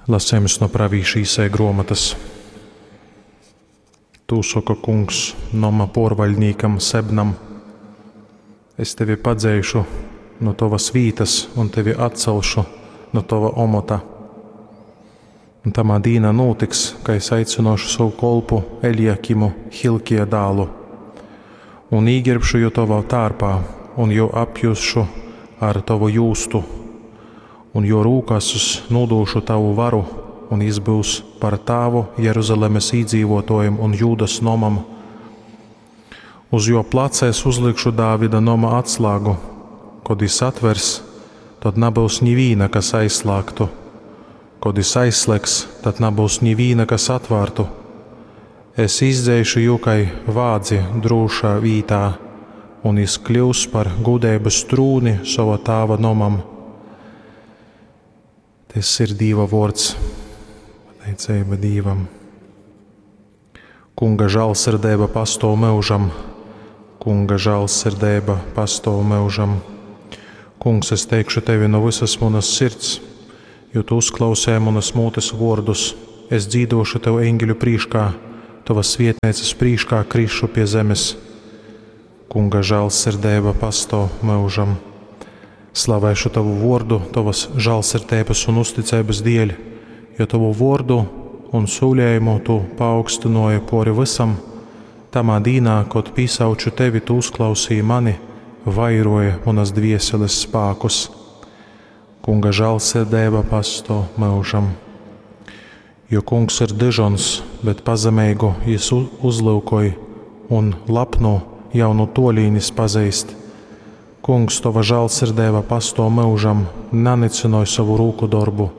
Lasejums no pravīša Isaija gruomotys. Tū soka Kungs noma puorvaļdnīkam Sebnam: Es tevi padzeišu nu tovas vītas un tevi atcelšu nu tova omota. Un tamā dīnā nūtiks, ka es aicynuošu sovu kolpu Eljakimu, Hilkija dālu, un īgerbšu jū tovā tārpā, un jū apjūzšu ar tovu jūstu, un juo rūkās es nūdūšu tavu varu, un jis byus par tāvu Jeruzalemes īdzīvuotuojim un Jūdas nomam. Uz juo placa es uzlikšu Dāvida noma atslāgu. Kod jis atvers, tod nabyus nivīna, kas aizslāgtu. Kod jis aizslēgs, tad nabyus nivīna, kas atvārtu. Es izdzeišu jū kai vādzi drūšā vītā, un jis kļyus par gūdeibys trūni sova tāva nomam. Tys ir Dīva vuords. Pateiceiba Dīvam. Kunga žālsirdeiba pastuov myužam. Kunga žālsirdeiba pastuov myužam. Kungs, es teikšu tevi nu vysas munas sirds, jo tu uzklausēji munas mutes vuordus. Es dzīduošu tev eņgeļu prīškā, tovas svietneicas prīškā krišu pie zemes. Kunga žālsirdeiba pastuov myužam. Slavēšu tavu vuordu, tovas žālsirdeibas un uzticeibas dieļ, jo tovu vuordu un sūlējumu tu paaugstynuoji puori vysam. Tamā dīnā, kod pīsauču tevi, tu uzklausīji mani, vairoji munas dvieseles spākus. Kunga žālsirdeiba pastuov myužam. Jo kungs ir dyžons, bet pazemeigu jis uzlyukoj un lapnu jau nu tuolīnis pazeist. Kungs, tova žālsirdeiba pastuov myužam, nanycynoj sovu rūku dorbu.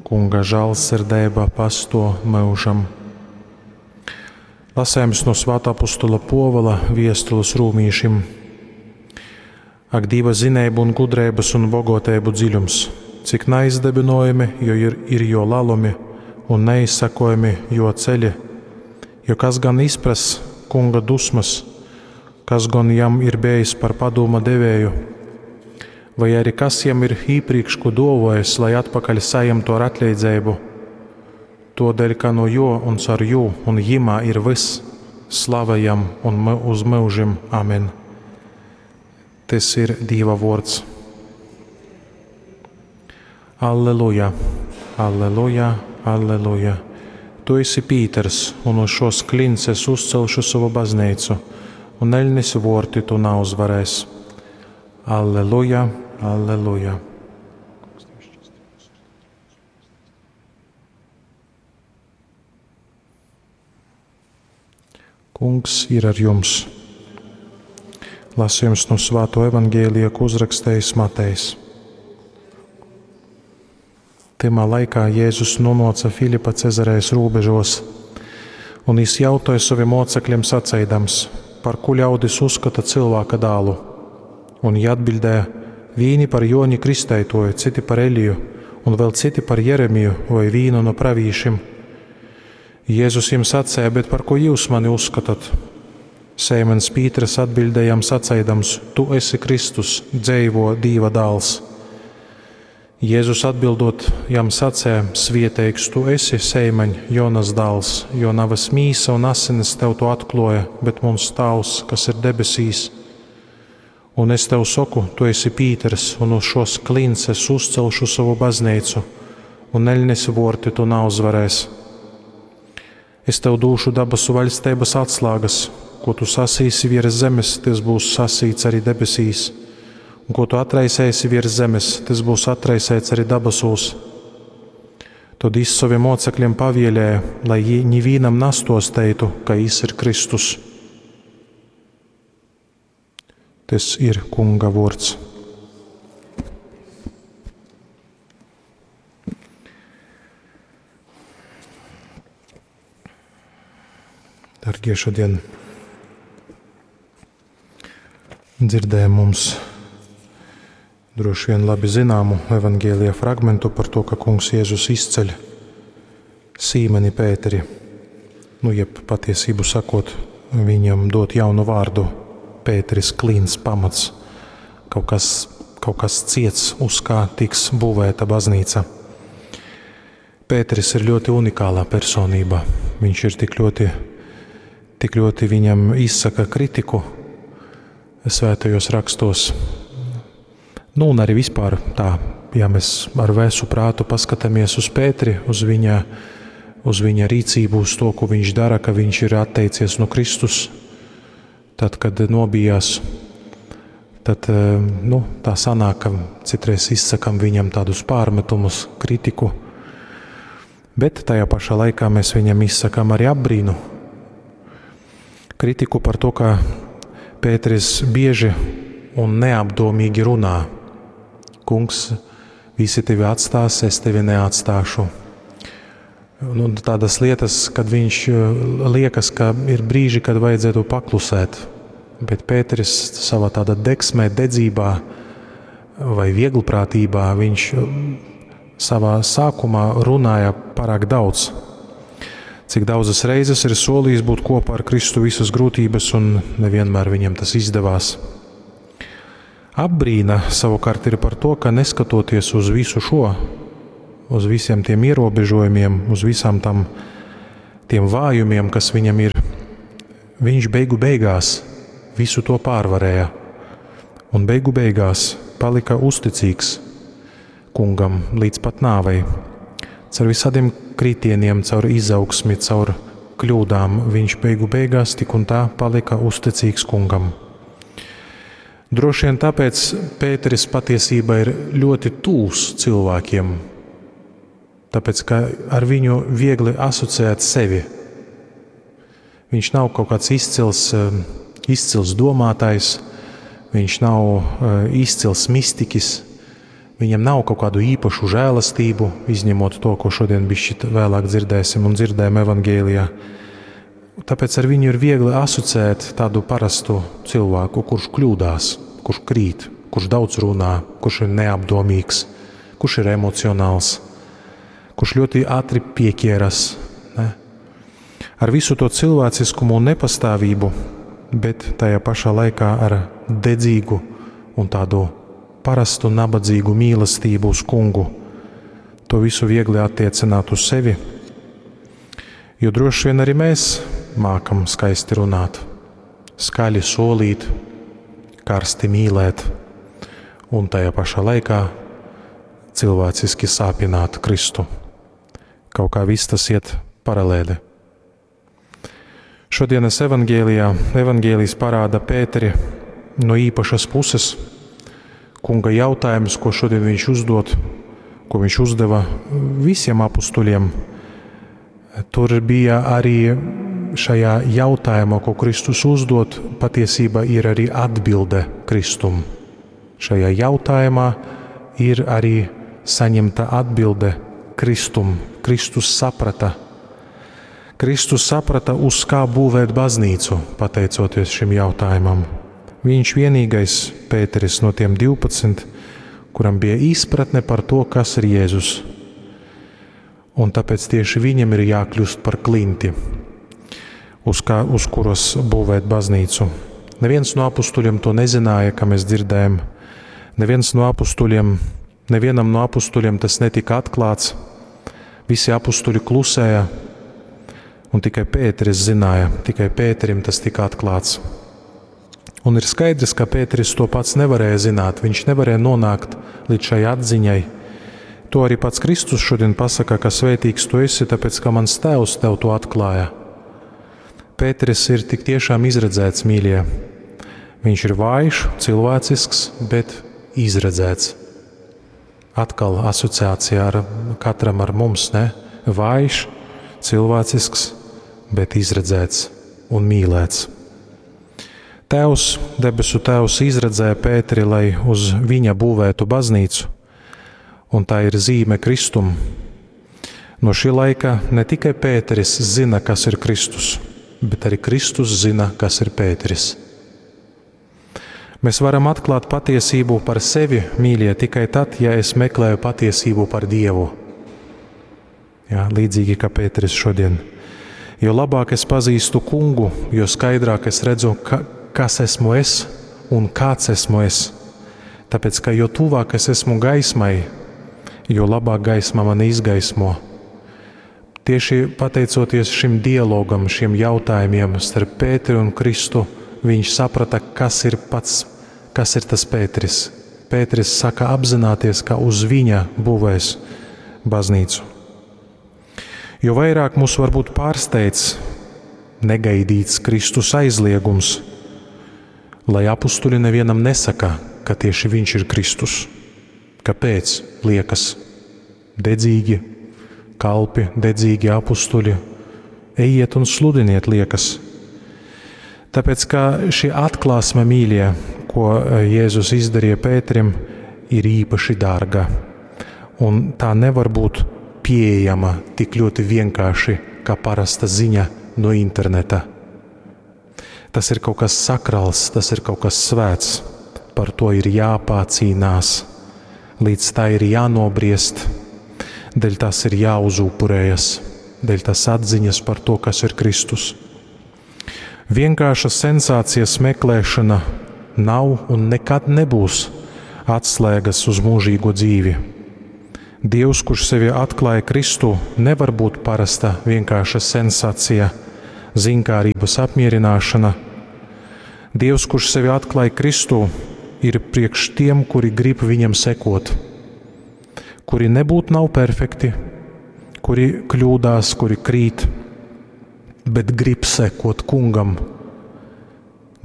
Kunga žālsirdeiba pastuov myužam. Lasējums no Svātā apustola Puovula viestules rūmīšim. Ak, Dīva zineibu un gudreibys un bogoteibu dziļums, cik naizdybynojami, jo ir, ir juo lalumi un neizsakojami juo ceļi. Jo kas gan izprass kunga dusmas, kas gon jam ir bejis par padūma devēju, vai arī kas jam ir īprīkš ko duovojis, lai atpakaļ sajemtu ar atleidzeibu. Todēļ, ka no jo un caur jū un jimā ir vyss, slava jam un uz myužim. Amen. Tys ir Dīva vuords. Alleluja, alleluja, alleluja. Tu esi Pīters, un uz šos klints es uzcelšu sovu baznīcu, un eļnes vuorti tu nauzvarēs. Alleluja, alleluja. Kungs ir ar jums. Lasījums no Svāto evaņģēlija, ko uzrakstījis Matejs. Tymā laikā Jēzus nonāca Filipa Cezarējas rūbežos, un jis jautāja soviem mocekļiem saceidams, par ko ļaudis uzskata cilvēka dālu. Un jī atbildēja, vīni par Joni Kristeitoju, citi par Eliju, un vēl citi par Jeremiju vai vīnu no pravīšim. Jēzus jiem sacēja, bet par ko jūs mani uzskatat? Sēmens Pīters atbildēja jam saceidams, tu esi Kristus, dzeivo Dīva dāls. Jēzus atbildot jam sacēja, svieteigs tu esi, Seimaņ, Jonas dāls, jo navas mīsa un asinis tev to atkloja, bet muns tāvs, kas ir debesīs. Un es tev saku, tu esi Pīters, un uz šos klints es uzcelšu savu baznīcu, un eļnes vorti tu nauzvarēs. Es tev dūšu dabasu vaļsteibas atslēgas, ko tu sasīsi virs zemes, tas būs sasīts arī debesīs, un ko tu atraisēsi virs zemes, tas būs atraisēts arī dabasūs. Tad jis soviem mocekļiem pavielēja, lai jī nivīnam nastosteitu, ka jis ir Kristus. Tas ir Kunga vuords. Dargie, šodien dzirdējām mums droši vien labi zināmu evaņģēlija fragmentu par to, ka Kungs Jēzus izceļ Sīmeni Pēteri, nu, jeb patiesību sakot, viņam dot jaunu vārdu Pēteris klīns pamats, kaut kas, kaut kas ciets, uz kā tiks būvēta baznīca. Pēteris ir ļoti unikālā personība. Viņš ir tik ļoti, tik ļoti viņam izsaka kritiku svētajos rakstos. Nu, un arī vispār tā, ja mēs ar vēsu prātu paskatāmies uz Pēteri, uz viņa rīcību, uz to, ko viņš dara, ka viņš ir atteicies no Kristus, tad, kad nobijās, tad nu, tā sanāk, ka citreiz izsakam viņam tādus pārmetumus, kritiku, bet tajā pašā laikā mēs viņam izsakam arī apbrīnu. Kritiku par to, ka Pēteris bieži un neapdomīgi runā. Kungs, visi tevi atstās, es tevi neatstāšu. Nu, tādas lietas, kad viņš liekas, ka ir brīži, kad vajadzētu paklusēt, bet Pēteris savā tādā degsmē, dedzībā vai vieglprātībā, viņš savā sākumā runāja pārāk daudz. Cik daudzas reizes ir solījis būt kopā ar Kristu visas grūtības, un nevienmēr viņam tas izdevās. Apbrīna savukārt ir par to, ka neskatoties uz visu šo, uz visiem tiem ierobežojumiem, uz visām tam, tiem vājumiem, kas viņam ir, viņš beigu beigās visu to pārvarēja. Un beigu beigās palika uzticīgs kungam līdz pat nāvei. Caur visādiem kritieniem, caur izaugsmi, caur kļūdām viņš beigu beigās tik un tā palika uzticīgs kungam. Droši vien tāpēc Pēteris patiesībā ir ļoti tūs cilvēkiem, tāpēc ka ar viņu viegli asociēt sevi. Viņš nav kaut kāds izcils domātājs, viņš nav izcils mistiķis, viņam nav kaut kādu īpašu žēlastību, izņemot to, ko šodien bišķi vēlāk dzirdēsim un dzirdējam evangēlijā. Tāpēc ar viņu ir viegli asociēt tādu parastu cilvēku, kurš kļūdās, kurš krīt, kurš daudz runā, kurš ir neapdomīgs, kurš ir emocionāls, kurš ļoti ātri pieķieras. Ne? Ar visu to cilvēciskumu un nepastāvību, bet tajā pašā laikā ar dedzīgu un tādu parastu nabadzīgu mīlestību uz kungu. To visu viegli attiecināt uz sevi, jo droši vien arī mēs mākam skaisti runāt, skaļi solīt, karsti mīlēt un tajā pašā laikā cilvēciski sāpināt Kristu. Kaut kā viss tas iet paralēli. Šodienas evangēlijā evangēlijs parāda Pēteri no īpašas puses. Kunga jautājums, ko šodien viņš uzdod, ko viņš uzdeva visiem apustuļiem. Tur bija arī šajā jautājumā, ko Kristus uzdod, patiesībā ir arī atbilde Kristum. Šajā jautājumā ir arī saņemta atbilde Kristum. Kristus saprata. Kristus saprata, uz kā būvēt baznīcu, pateicoties šim jautājumam. Viņš vienīgais Pēteris no tiem 12, kuram bija izpratne par to, kas ir Jēzus. Un tāpēc tieši viņam ir jākļūst par klinti, uz kuras būvēt baznīcu. Neviens no apustuļiem to nezināja, kā mēs dzirdējam. Neviens no apustuļiem, nevienam no apustuļiem tas netika atklāts. Visi apustuļi klusēja, un tikai Pēteris zināja, tikai Pēterim tas tika atklāts. Un ir skaidrs, ka Pēteris to pats nevarēja zināt, viņš nevarēja nonākt līdz šai atziņai. To arī pats Kristus šodien pasaka, ka svētīgs tu esi, tāpēc, ka mans tēvs tev to atklāja. Pēteris ir tik tiešām izredzēts, mīļie. Viņš ir vājš, cilvēcisks, bet izredzēts. Atkal asociācija ar katram ar mums, ne? Vājš, cilvēcisks, bet izredzēts un mīlēts. Tēvs, debesu Tēvs izredzēja Pēteri, lai uz viņa būvētu baznīcu, un tā ir zīme Kristum. No šī laika ne tikai Pēteris zina, kas ir Kristus, bet arī Kristus zina, kas ir Pēteris. Mēs varam atklāt patiesību par sevi, mīļie, tikai tad, ja es meklēju patiesību par Dievu. Jā, līdzīgi kā Pēteris šodien. Jo labāk es pazīstu kungu, jo skaidrāk es redzu, kas esmu es un kāds esmu es. Tāpēc, ka jo tuvāk es esmu gaismai, jo labāk gaisma mani izgaismo. Tieši pateicoties šim dialogam, šiem jautājumiem starp Pēteri un Kristu, viņš saprata, kas ir pats, kas ir tas Pēteris. Pēteris saka apzināties, ka uz viņa būvēs baznīcu. Jo vairāk mūs varbūt pārsteidz negaidīts Kristus aizliegums, lai apustuļi nevienam nesaka, ka tieši viņš ir Kristus. Kāpēc? Liekas, dedzīgi kalpi, dedzīgi apustuļi, ejiet un sludiniet, liekas. Tāpēc, ka šī atklāsme, mīļie, ko Jēzus izdarīja Pēterim, ir īpaši dārga. Un tā nevar būt pieejama tik ļoti vienkārši, kā parasta ziņa no interneta. Tas ir kaut kas sakrāls, tas ir kaut kas svēts. Par to ir jāpācīnās, līdz tā ir jānobriest, dēļ tas ir jāuzupurējas, dēļ tas atziņas par to, kas ir Kristus. Vienkārša sensācijas meklēšana nav un nekad nebūs atslēgas uz mūžīgo dzīvi. Dievs, kurš sevi atklāja Kristu, nevar būt parasta vienkārša sensācija, zinkārības apmierināšana. Dievs, kurš sevi atklāja Kristu, ir priekš tiem, kuri grib viņam sekot, kuri nebūt nav perfekti, kuri kļūdās, kuri krīt, bet grib sekot kungam.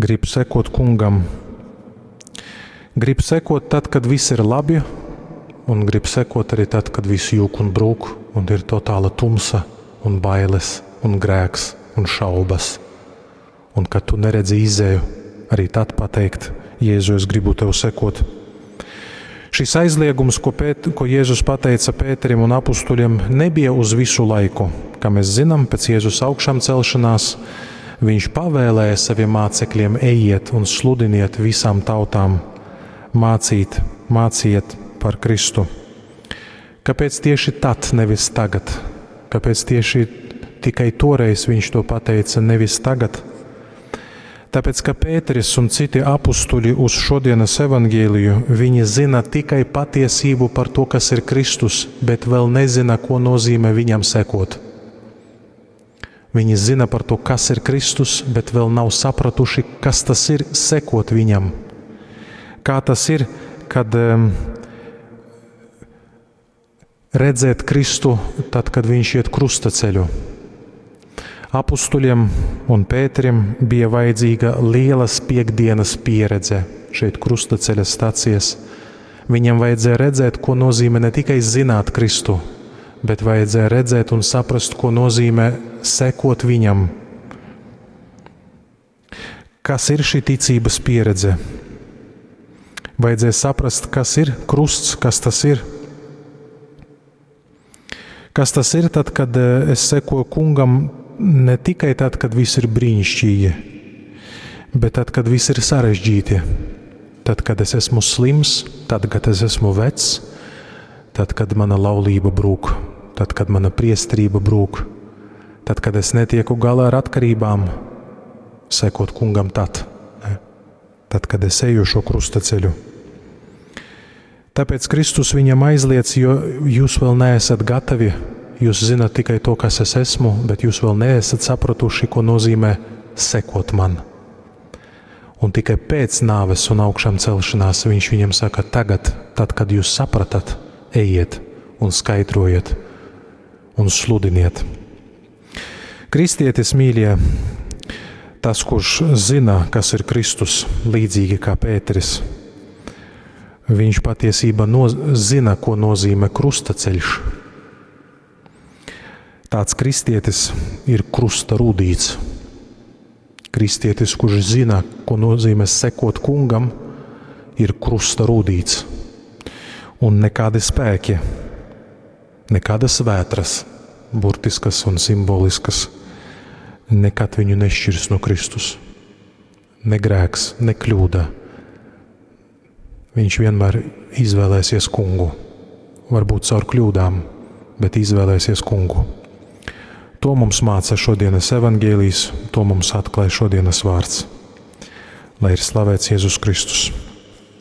Grib sekot kungam. Grib sekot tad, kad viss ir labi, un grib sekot arī tad, kad viss jūk un brūk, un ir totāla tumsa, un bailes, un grēks, un šaubas. Un kad tu neredzi izēju, arī tad pateikt: Jēzu, es gribu tev sekot. Šis aizliegums, ko Jēzus pateica Pēterim un apustuļiem, nebija uz visu laiku. Kā mēs zinām, pēc Jēzus augšām celšanās viņš pavēlēja saviem mācekļiem: ejiet un sludiniet visām tautām, mācīt, māciet par Kristu. Kāpēc tieši tad, nevis tagad? Kāpēc tieši tikai toreiz viņš to pateica, nevis tagad? Tāpēc, ka Pēteris un citi apustuļi uz šodienas evaņģēliju, viņi zina tikai patiesību par to, kas ir Kristus, bet vēl nezina, ko nozīmē viņam sekot. Viņi zina par to, kas ir Kristus, bet vēl nav sapratuši, kas tas ir sekot viņam. Kā tas ir, kad redzēt Kristu tad, kad viņš iet krusta ceļu. Apustuļiem un Pēterim bija vajadzīga lielas piekdienas pieredze šeit krustaceļa stacijas. Viņam vajadzēja redzēt, ko nozīmē ne tikai zināt Kristu, bet vajadzēja redzēt un saprast, ko nozīmē sekot viņam. Kas ir šī ticības pieredze? Vajadzēja saprast, kas ir krusts, kas tas ir. Kas tas ir tad, kad es sekoju kungam ne tikai tad, kad viss ir brīnišķīgi, bet tad, kad viss ir sarežģīti. Tad, kad es esmu slims, tad, kad es esmu vecs, tad, kad mana laulība brūk, tad, kad mana priesterība brūk, tad, kad es netieku galā ar atkarībām, sekot kungam tad, ne? Tad, kad es eju šo krusta ceļu. Tāpēc Kristus viņam aizliedz, jo jūs vēl neesat gatavi, jūs zinat tikai to, kas es esmu, bet jūs vēl neesat sapratuši, ko nozīmē sekot man. Un tikai pēc nāves un augšām celšanās viņš viņam saka, tagad, tad, kad jūs sapratat, ejiet un skaidrojiet un sludiniet. Kristietis, mīļie, tas, kurš zina, kas ir Kristus, līdzīgi kā Pēteris, viņš patiesībā zina, ko nozīmē krustaceļš. Tāds kristietis ir krusta rūdīts. Kristietis, kurš zina, ko nozīmē sekot kungam, ir krusta rūdīts. Un nekādi spēki, nekādas vētras, burtiskas un simboliskas, nekad viņu nešķirs no Kristus. Ne grēks, ne kļūda. Viņš vienmēr izvēlēsies kungu. Varbūt caur kļūdām, bet izvēlēsies kungu. To mums māca šodienas evaņģēlijs, to mums atklāj šodienas vārds. Lai ir slavēts Jēzus Kristus.